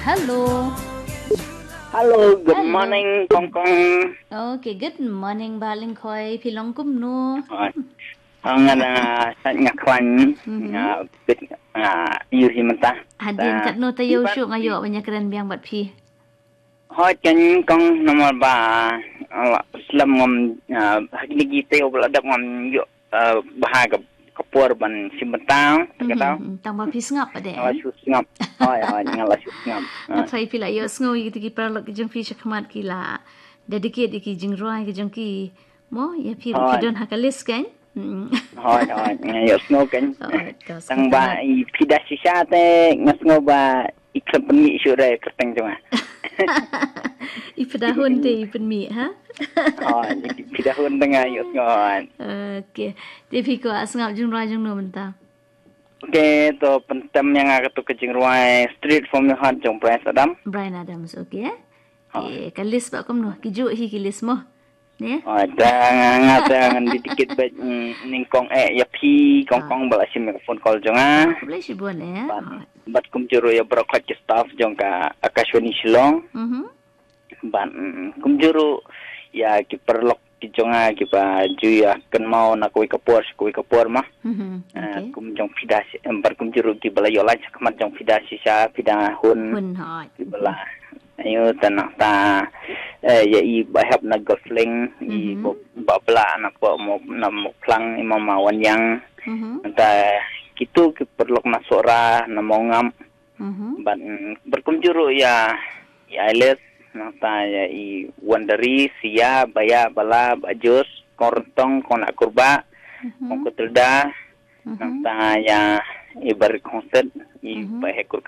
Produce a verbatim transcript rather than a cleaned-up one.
Hello. Hello, good Hello. Morning, Kong Kong. Okay, good morning, Bah Lyngkhoi. Phi long kumno? Hoi. Nga da sat nga khlaiñ, Mhm. nga bit, nga ïohi mynta. Hadien Da- katno taïew Iban- shuh nga ïoh ban ïakren biang bad phi. Hoi, kan Kong, namar ba, ala, slem ngam, ah, ha kine ki taïew ba la dep ngam ïoh, ah, bha ka, ka por ban shim bynta, Mhm, kata. mhm. Tang ba phi sngap pat de, Nga la eh? shu sngap. Hoi, hoi, nga la shu sngap. Nga Hoi. tharai phi la ïohsngew ïa kito ki paralok ki jong phi shakhmat ki la dedicate ïa ki jingrwai ki jong ki. Mo, ïa phi ruh phi Hoi. don ha ka list kan? Mm. Hoi, hoi, nga ïohsngew kan. Hoi, ka Tang ba sngewtynnat. i phi da shisha te nga sngew ba i khlem pynmih shuh da ka kyrteng jong nga. I phi da hun te i pynmih, ha? Hoi, i phi da hun te nga ïohsngew hoi. Okay. Te phi kwah sngap jingrwai jong no mynta? Okay, to pyntem ïa nga katu ka jingrwai Straight From Your Heart jong Bryan Adams. Bryan Adams, okay. Hoi. Eh, ka list ba kumno, ki juh hi ki list mo. Ne? Hoi, da nga nga da ngan di tikit ba, mm, nyngkong eh ïa phi Kong Ah. Kong ba la shim ïa ka phone call jong nga. Khublei shibun eh. Bad, Hoi. bad kumjuh ruh ïa baroh khoit ki staff jong ka Akashvani Shillong. Mhm. Bad, mm, kumjuh ruh ïa ki paralok ki jong nga kiba ju ïa kynmaw na kawei ka por sha kawei ka por ma. Mhm, Ah, okay. kum jong phi da shi, em, bad kumjuh ruh kiba la ïoh line shakhmat jong phi da shisha, phi da hun. Hun hoi. Kiba la. Ayo ta nangta, eh, ïa i ba hep na Golf Link, i Mhm. ba, ba bla na po mo, na mo plang i mama wan yang. Mhm. Nangta kitu ki paralok na Sohra, na Mawngap. Mhm. Bad, mm, bad kumjuh ruh ïa, ïa Alice, nangta ïa i Wandari, Sia, Baya, Bala, Bajos, Kong Ryntong, Kong Nakurba, Mhm. Kong Kutilda, Mhm. nangta ïa i Barik Hongset, i Mhm. Bahekur